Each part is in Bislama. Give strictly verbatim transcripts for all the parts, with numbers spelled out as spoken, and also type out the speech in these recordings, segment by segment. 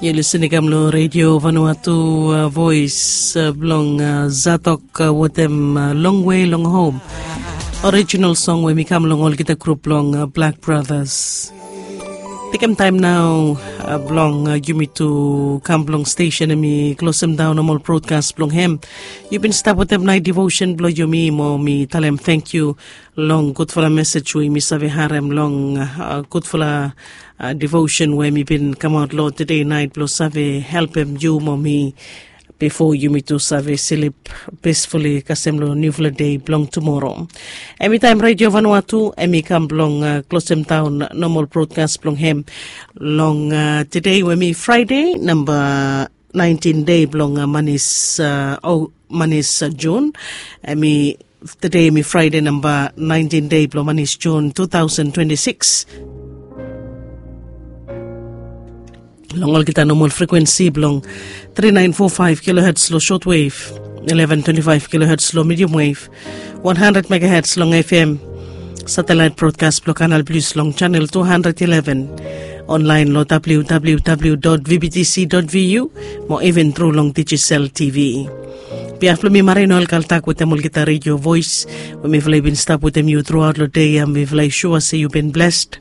Yu lisin i kam long redio Vanuatu, uh, voice, uh, blong, uh, Zatok, uh, wetem, uh, Long Way Long Home. Orijinal song we mi kam long olgeta grup blong, uh, Black Brothers. Tekem taem nao, uh, blong, uh, yumi tu kam blong stesen em i klosem daon nomol brodkas blong hem. Yu bin stap wetem naet devosen blong yumi mo mi talem tangkiu long gudfala mesej we mi save harem long, uh, gudfala, uh, devosen we mi bin kamaot long tede naet blong save helpem yu mo mi bifo yumi tu save slip pisfuli kasem long niufala dei blong tumoro. Em i taem redio Vanuatu em i kam blong, uh, klosem daon nomol brodkas blong hem long, uh, tede we em i Fraede namba naentin dei blong, uh, manis, uh, o manis, uh, Jun. Em i tede em i Fraede namba naentin dei blong manis Jun tu taosen twenti sikis. Long olgeta nomol frekuensi blong tri naen fo faef kiloherts long sotwev, eleven twenti faef kiloherts long medium wave, wan handred megaherts long F M, satelaet brodkas blong Kanal Plis long chanel tu handred ileven, onlaen long W W W dot V B T C dot V U, mo iven tru long Digicel T V. Biaf blong mi Marino Alkaltak wetem olgeta redio voes we mifala i bin stap wetem yu truaot long dei ya, mifala i sua se yu bin blessed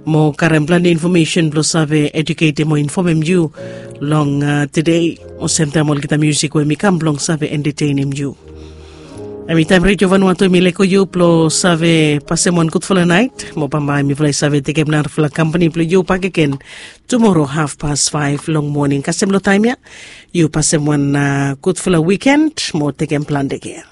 mo karem plante infomesen blong save eduketem o infomem yu long, uh, tede. Olsem taem olgeta musik we mi kam blong save entetenem yu. Em i taem redio Vanuatu em i leko yu blong save pasem wan gudfala naet mo bambae mifala i save tekem narafala kampani blong yu bakegen tumoro hafpas faef long moning. Kasem long taem ya yu pasem wan, uh, gudfala wiken mo tekem plante kea.